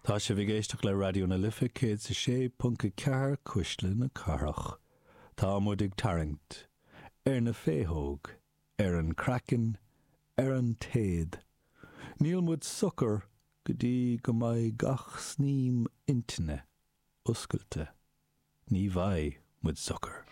Tá sibh ag éisteacht le Raidió na Life 106.4 Cuisle na Cathrach. Tá muid ag tarraingt ar na féitheog, ar an craiceann, ar an téad. Níl muid socair go dtí go mbeidh gach snaidhm intinne oscailte. Ní bheidh muid socair.